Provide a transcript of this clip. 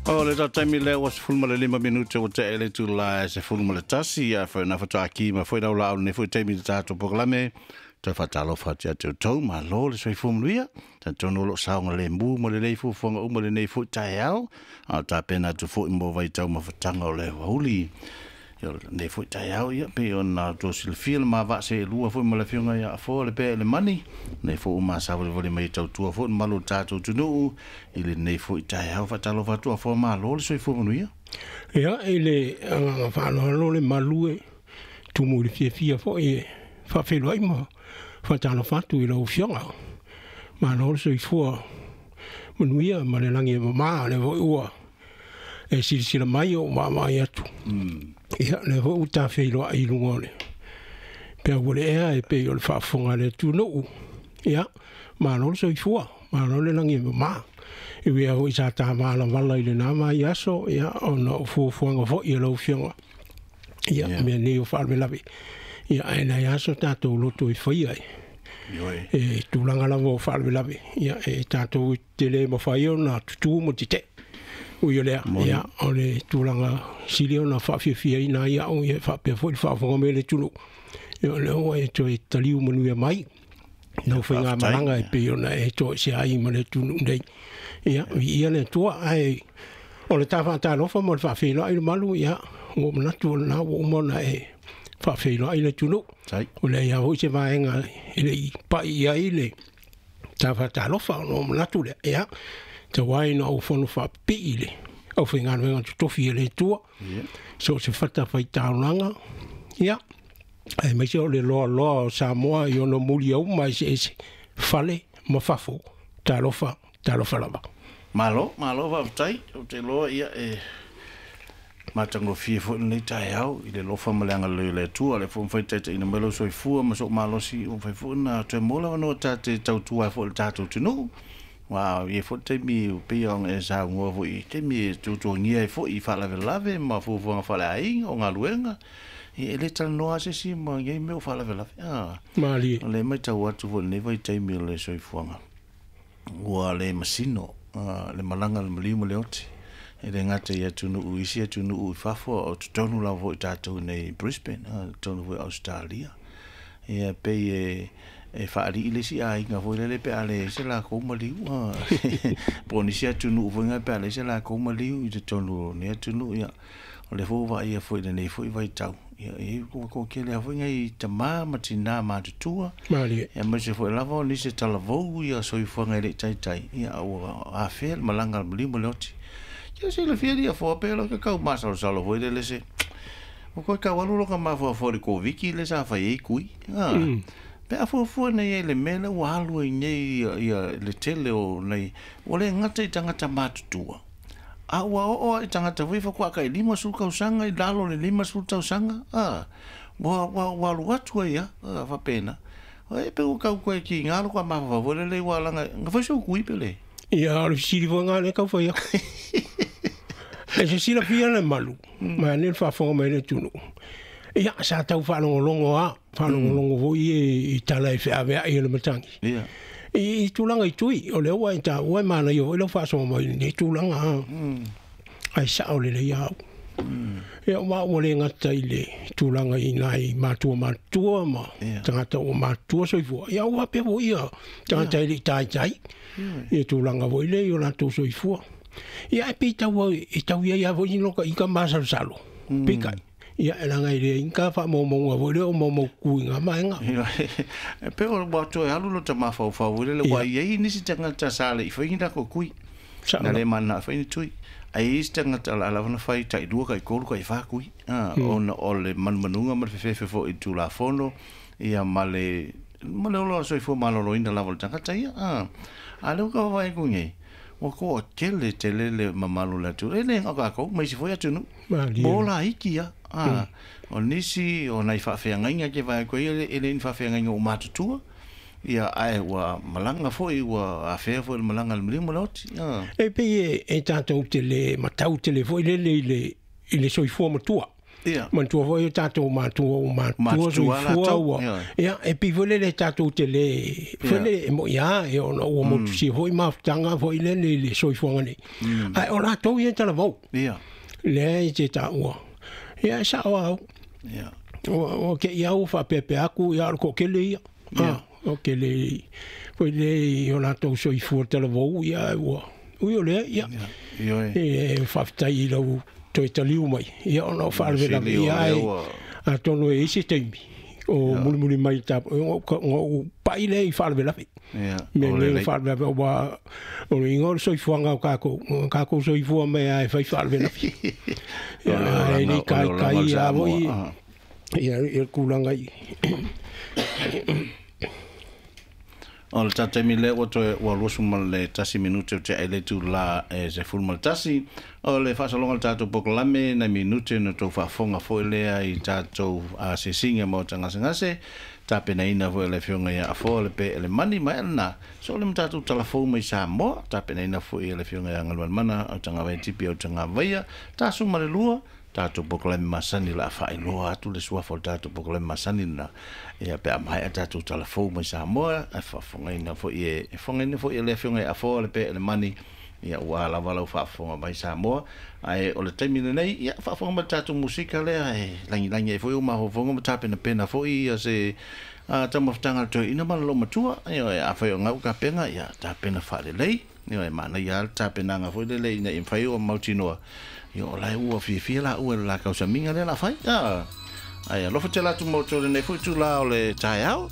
O le taimi lea ua 15 minute ua tea i le itula e 11, ia foi na faatoa ki ma foi lau laau lenei foi taimi i le tatou polokalame. Toe faatalofa atu ia te outou, malo le soifua manuia. Talitonu o lo o saogalemu ma lelei fuafuaga uma i lenei foi taeao, a o tapena atu foi mo vaitaumafataga o le aoauli. Ia, o lenei foi taeao, ia, pei ona outou silafia le ma vaa seelua foi ma le Afioga ia Afoa le Pea i le Mani, lenei foi ua masavalivali mai e tautua foi le mamalu o le tatou atunuu i lenei foi taeao. Faatalofa atu Afoa, malo le soifua manuia. Ia, i le agaga faaaloalo le malu e tumu i le fiafia foi e faafeiloai ma faatalofa atu i lau Afioga. Malo le soifua manuia ma le lagi e mama, lea foi ua e silasila mai o vaavaai atu. Ia, lea foi ua tafeiloai i luga o le peau o le ea e pei o le faafofoga a le atunuu. Ia, malo le soifua, malo le lagi e mama. E ui lava foi sa ta valavala i lena vaiaso, ia, ona o fuafuaga foi a lau Afioga. Ia, mea nei o faalavelave. Ia, ae leai lava so tatou loto e faia e tulaga lava o faalavelave. Ia, e tatou te le mafai ona tutū ma tetee. Ui o lea, ia, o le tulaga sili ona faafiafiaina ai au, ia, faapea foi le faafofoga mai a le atunuu. Ia, o lea ua e toe taliu manuia mai lau faigamalaga e pei ona e toesea ai ma le atunuu nei. Ia, viia le Atua. Ae o le ta faatalofa ma le faafeiloai i le malu, ia, ua ou manatu o lena ua uma ona e faafeiloai le atunuu. Ua leai lava foi se vaega e le i pai i ai le ta faatalofa, ona ou manatu lea, ia, tau ai ina ou fono faapipii i le aufaigaluega totofi a le Atua, so o se fatafaitaulaga, ia, aemaise o le loaloa o Samoa i ona muliauma eseese, fale ma fafo. Talofa, talofa lava. Malo, malo faafetai. Ou te iloa ia e matagofie foi lenei taeao i le alofa ma le agalelei o le Atua. O lea foi ua mafai ona taitaiina mai lou soifua ma sou malosi, ua mafai foi ona toe maua le avanoa ta te tautua ai foi i le tatou atunuu. Aua e i ai foi le taimi pei ona e saunoa foi i taimi e tuatuagia ai foi i faalavelave ma fuafuaga faaleaiga o galuega. Ia e le talanoa lava se isi ma nei mea o faalavelave. Malie. O lea e matau atu foi i lenei vaitaimi o le soifuaga, ua le masino le malaga a le maliu ma le oti. E le gata i atunuu, isi atunuu i fafo, a o totonu lava foi tatou i inei i Brisbane, totonu foi o Ausetalia. Ia e pei e faalii le isi aiga foi lele pe a leai se lakou maliu, po o nisi atunuu foi na pe a leai se lakou maliu i totonu o nei atunuu. Ia, o lea foi ua vaaia foi i lenei foi vaitau, ia, e ua toatele lava foi nai tama ma tina matutua. Malie. Aemaise foi lava o nisi e talavou ia soifuaga e le i taitai, ia, ua afea le malaga a le maliu ma le oti. Ia silafia lia foa pe lo ke kau masalosalo foi lele se ua koe tau alu loka mafaufau i le Koviti lea sa fai ai tui. Pe a fuafua nei ai le mea lea ua alu ai nei ia le tele o nei, ua le gata i tagata matutua, a ua oo lava i tagata foi faatoa tai 50 tausaga i lalo o le 50 tausaga, ua alu atu ai lava faapena. E pei ua tau toe tiga lou mafaufau foi lele ua laga, na fai sou tui pe le? Ia, o le fesili foi lena lea e tau fai atu. E se silafia le malu, ma ane le faafofoga mai le atunuu. Ia, sa tau faalogologo lava, faalogologo foi i tala e feaveai e le matagi. I tulaga i tui, o lea ua e taua e manaia foi lau faasoa mai i lenei tulaga, ae sao lelei au. Ia, ma ua le gata i le tulaga i nai matua matutua ma tagata ua matutua soifua, ia ua faapea foi ia tagata e le i taitai ia tulaga foi lea i o latou soifua. Ia, ae pei tau e tau i ai lava foi ni loka ika masalosalo, peitai. Ia, e leaga e leai ni ta faamaumauga foi lea o maumaututu i ngā vaega. E pei ua toe alu lota mafaufau foi lele, ua i ai nisi tagata sa le i fai ni latou tui. Na le mananao e fai ni tui. Ae i ai isi tagata o le a lava ona fai tai 2, tai 3, tai 4 tui. Ona o le manumanuga ma le fefefe foi i le Tulafono, ia ma le ola o le soifua maloloina lava o le tagata ia. A o lea ua tau vaavaai atu nei, ua toatele tele le mamalu o le atunuu, e le na o tatou, ma isi foi atunuu. Ua ola iki lava. O nisi o nai faafeagaiga ke vaai atu ai, e le ni faafeagaiga ua matutua, ia, ae ua malaga foi, ua afea foi le malaga a le maliu ma le oti. E pei e tatou te le matau tele foi lele i le soifua matua. Manatua foi o tatou matua o matua soifua ua. Ia, e pei foi lele tatou te le foi lele e mo'i lava e ona ua motusia foi mafutaga foi lele i le soifuaga nei. Ae o latou ia e talavou. Lea e te taua. Ia e sa'o lava au. Ua te'i lava ua faapeapea atu ia o le toatele ia. O tele foi le i o latou soifua talavou ia ua ui o lea ia. E faafetai i lau toe taliu mai ia ona o faalavelave ia ai atonu e i ai se taimi o mulimuli mai ona ou pa'i lea i faalavelave. Mea nei o faalavelave aua o le uiga o le soifuaga o tatou, o tatou soifua mai lava e fai faalavelave. Ia e le i taitai lava foi ia le tulaga i O le tatou taimi lea ua toe ua 21 minute o tea ai le itula e 11. O le faasologa o le tatou polokalame nai minute na outou faafofoga foi lea i tatou asiasiga maota gasegase, tapenaina foi e le Afioga ia Afoa le Peelemani ma ea lena. So le ma tatou talafou mai Samoa, tapenaina foi e le Afioga ia Galumalemana Autagavaia Tipi Autagavaia, tasu ma le lua, tatou polokalame masani o le a faailoa atu le suafa o le tatou polokalame masani lena ia pe a maea tatou talafou mai Samoa ae faafofogaina foi e fofogaina foi e le Afioga ia Afoa le Peelemani ia ua lava lau faafofoga mai Samoa ae o le taimi lenei ia faafofoga mai le tatou musika lea e lagilagi ai foi ou mafaufauga ma tapenapena foi ia se taumafataga a le toeaina ma le loomatua ia afai o gau tapena ia tapena faalelei. Ioe, manaia lava le tapenaga foi lele ina ia mafai ona mautinoa, ia o la e ua fiafia laua i le la tausamiga lea o le a fai. Ae alofa tele atu mo outou i lenei foi itula o le taeao.